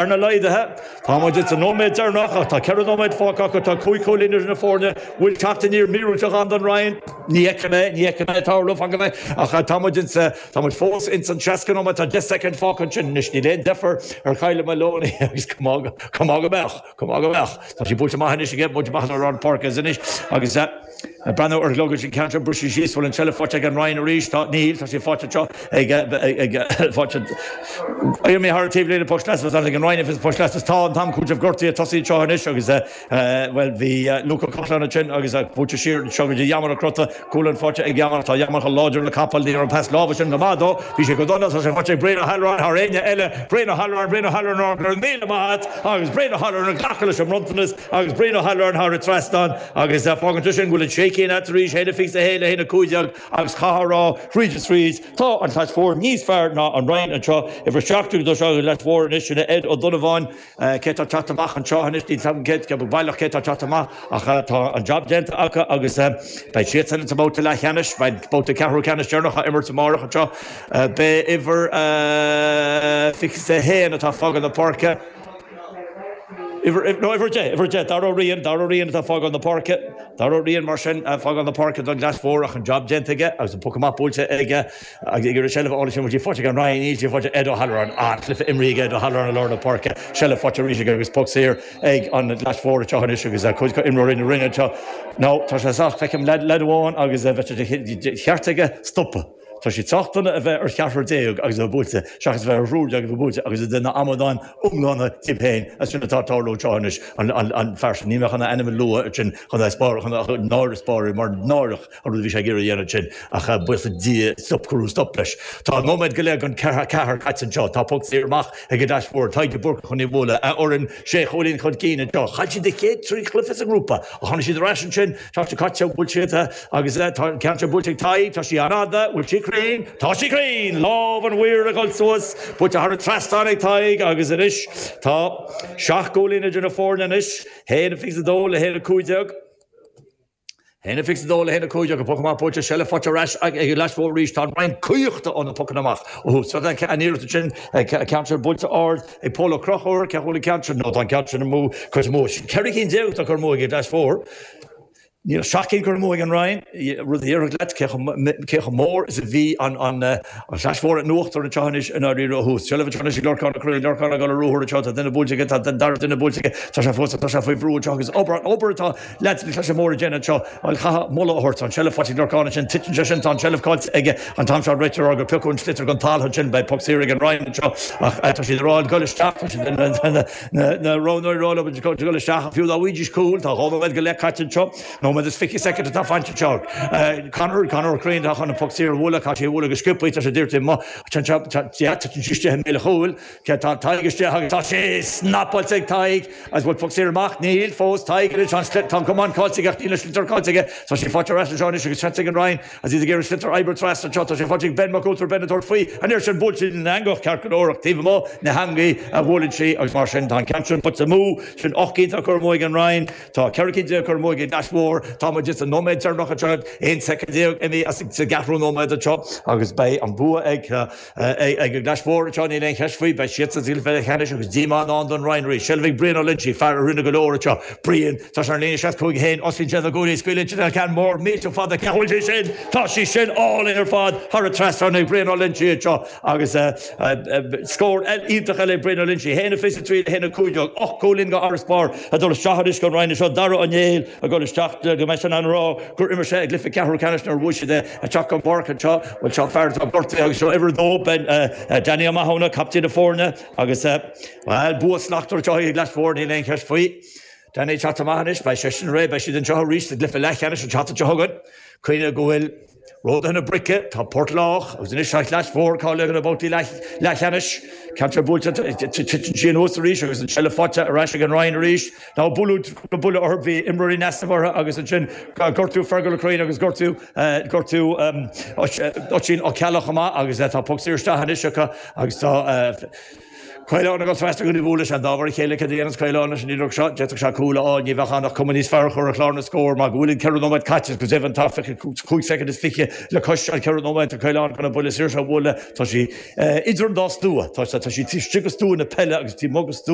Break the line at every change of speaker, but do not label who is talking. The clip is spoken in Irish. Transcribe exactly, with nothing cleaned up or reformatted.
Arna laghdaithe, tá muid sa nóiméad deireanach ach tá ceithre nóiméad fágtha acu, tá cúig chúilín idir na foirne, bhfuil teacht aniar míorúilteach ann don Rinn? Ní fheicim é, ní fheicim é tarlú, fan go mbeidh, ach tá muid insa, tá muid fós ins an seasca nóiméad, tá deich soicind fágtha ansin anois, níl aon deifir ar Kyla Maloney agus go maith go maith go mbeadh, go maith go mbeadh. Tá sí buailte amach anois aige, buailte amach ar an pháirc anois agus breathnú ar ghlog sin ceann briseadh síos bhfuil an tseilbh faighte ag an Rinn arís, tá níl, tá sé faighte anseo ag ag faighte mé thar taobh lena poc lastas ag an Rinn poc lastas tá an t-am cúiteamh gortaithe tosaí anseo anois agus well bhí Luca Cochlan ansin agus buailte siar anseo go dtí Yaman Crota cúl an faighte ag Yaman tá Yaman chomh láidir le capall ní an pas láimhe sin go maith dó bhí sé go dona tá sé faighte ag Brian O'Halloran thar éinne eile Brian O'Halloran Brian O'Halloran gur míle maith agus Brian O'Halloran ag glacadh leis an mbronntanas agus Brian O'Halloran thar an trasnán agus fágann sin go bhfuil an sé cinn arís haon a fiche a haon le haon a cúig déag agus chaithfeá thríd is tríd tá an Chlais Mhór níos fearr ná an Rinn anseo uimhir seacht do seo Leas Mhór anois sin Ed Ó Donnabháin cé tá teacht amach anseo anois ní cé baileach cé tá teacht amach ach tá an job déanta acu agus beidh siad san sa mbabhta leathcheannais beidh babhta ceathrú ceannais deireanach á imirt amárach anseo beidh uimhir fiche a haon atá fágáil na páirce. No uimhir deich, uimhir deich, Dara Rian, Dara Rian atá fágáil na páirce, Dara Rian mar sin fágáil na páirce don Ghlas Mhór ach an job déanta aige agus an poc amach buailte aige agus ag iarraidh seilbh a fháil sin bhfuil sí faighte ag an Rinn níl sí faighte Ed O'Halloran an cluiche imrithe ag Ed O'Halloran i lár na páirce seilbh faighte arís aige agus poc saor ag an Ghlas Mhór anseo anois agus cuid imreoirí na Rinne anseo. No tá sé sách feicim leaid amháin agus bheith sé cheart aige stopadh. Tá sé sách dona a bheith ar cheathrar déag agus a bheith buailte seachas a bheith ar thriúr déag a bheith buailte agus a duine amadáin iomlána díobh féin as sin atá tarlú anseo anois an fear sin ní bheadh an ainm lua sin chun spár chun náire spáir mar náireach an rud a bhí sé ag iarraidh a dhéanamh sin ach buíochas le Dia stop cuireadh stop leis. Tá nóiméad go leith gan ceathair ceathair caite anseo, tá poc saor amach ag an Ghlais Mhór, Tadhg de Búrca chun í a bhualadh a fhoireann sé chúilín chun cinn anseo. Chaill siad a chéad trí chluiche sa ngrúpa a tháinig siad ar ais ansin tá sé caite bhuail siad agus tá an ceann seo buailte ag Tadhg, tá sí an-fhada, bhfuil sí cruinn, Tá sí cruinn, lámh an mhaoir ag dul suas, buailte thar an trasnán ag Tadhg agus anois tá seacht gcúilín idir na foirne anois, haon a fiche a dó le haon a cúig déag. Haon a fiche a dó le haon a cúig déag, poc amach buailte seilbh faighte ar ais ag an Ghlais Mhór arís tá an Rinn caochta ó na pocanna amach. Ó so an iarracht sin ceann sin buailte ard ag Pól Ó Conchúir, cé bhfuil an ceann sin nó tá an ceann sin amú cuid amú. Ceithre cinn déag atá curtha amú ag an Ghlais Mhór. Níl seacht gcinn curtha amú ag an Rinn, rud a déarfadh leat cé chomh mór is a bhí an an Chlais Mhór in uachtar anseo anois i ndáiríre ó thús. Seilbh anseo anois ag Lorcán Ó Curraoin, Lorcán ag dul ar ruathar anseo, tá duine buailte aige, tá dara duine buailte aige, tá sé fós tá sé faoi bhrú anseo agus obair obair atá leaids na Claise Móire ag déanamh anseo, bhuel chaithfeá moladh a thabhairt, tá an tseilbh faighte ag Lorcán ansin, titeann sé sin, tá an tseilbh caillte aige an t-am seo réiteoir gur piocadh an sliotar den talamh ansin, beidh poc saor ag an Rinn anseo ach tá siad ag rá dul isteach, tá siad na na roghnóirí ag rá leo dul isteach fiú dá bhfaighidís cúl, tá dhá nóiméad go leith caite anseo. Nóiméad is fiche soicind atá fanta anseo. Conor Conor Ó Curraoin atá chun an poc saor a bhualadh, caithfidh sé a bhualadh go sciobtha, tá sé dírte amuigh, titeann sí istigh i mbéal an chúil, tá Tadhg istigh agus tá sé snapáilte ag Tadhg agus bhfuil poc saor amach? Níl fós, Tadhg anois, tá an camán caillte aige ach níl an sliotar caillte aige, tá sé faighte ar ais anseo anois agus seans ag an Rinn agus iad ag iarraidh sliotar a oibriú trasna anseo, tá sé faighte ag Ben Mac Ualtair, Ben ag tabhairt faoi, an iarraidh sin buailte ina eangach ceart go leor ach taobh amuigh na heangaí a bhuaileann sí agus mar sin tá an ceann sin buailte amú, sin ocht gcinn atá curtha amú ag an Rinn. Tá ceithre cinn déag curtha amú ag an gClais Mhór. Tá muid sa nóiméad deireanach anseo, aon soicind déag imithe as sa gceathrú nóiméad anseo agus beidh an bua ag ag an gClais Mhór anseo, níl aon cheist faoi. Beidh siad sa gcluiche leathcheannais agus díomá i ndán don Rinn arís. Seilbh ag Brian Ó Loinsigh, fear a rinne go leor anseo. Brian, tá sé ar an líne seasca cúig a haon, osclaíonn sé na guaillí, scaoileann sé an ceann mór millteach fada, cé bhfuil sé sin? Tá sí sin álainn ar fad thar an trasnán ag Brian Ó Loinsigh anseo agus scór iontach eile ag Brian Ó Loinsigh, a haon a fiche a trí le haon a cúig déag, ocht gcúilín d'fharasbarr ag dul isteach anois don Rinn anseo, Dara Ó Néill ag dul isteach go mbeidh sé in ann a rá gur imir sé i gcluiche ceathrú ceannais nuair a bhuaigh siad é ag teacht chun páirce anseo. Bhuel seo fear atá gortaithe agus seo uimhir a dó, Ben Danny Ó Mathúna, captaen na foirne agus bhuel bua slachtmhar anseo ag an gClais Mhór, níl aon cheist faoi. Danny ag teacht amach anois, beidh seisean réidh, beidh siad anseo arís sa gcluiche leathcheannais an tseachtain seo chugainn. Cuimhnigh go bhfuil Ródaithe na Brice, tá Port Lách agus anois tá Clais Mhór cáilithe do na babhtaí leathcheannais. Ceann seo buailte, titeann sí anuas arís agus an tseilbh faighte ar ais ag an Rinn arís. Now buaileadh buille orthu, bhí imreoirí in easnamh orthu agus ansin gortú Fergal Ó Curraoin agus gortú gortú Oisín Ó Ceallaigh chomh maith agus tá poc saor isteach anois acu agus tá Caolán agus trasna go bhúla an dáhar chéile ce dhéanas Caolán leis an iarracht seo d'fhéadfadh sé cúl a fháil ní bheadh ann ach cuma níos fearr a chur ar chlár na scór mar go bhfuil an ceithre nóiméad caite go deimhin tá fiche cúig soicind is fiche le cois an ceithre nóiméad tá Caolán chun an buille saor seo a bhualadh tá sí idir an dá stua tá tá sí istigh i stua na peile agus taobh amuigh de stua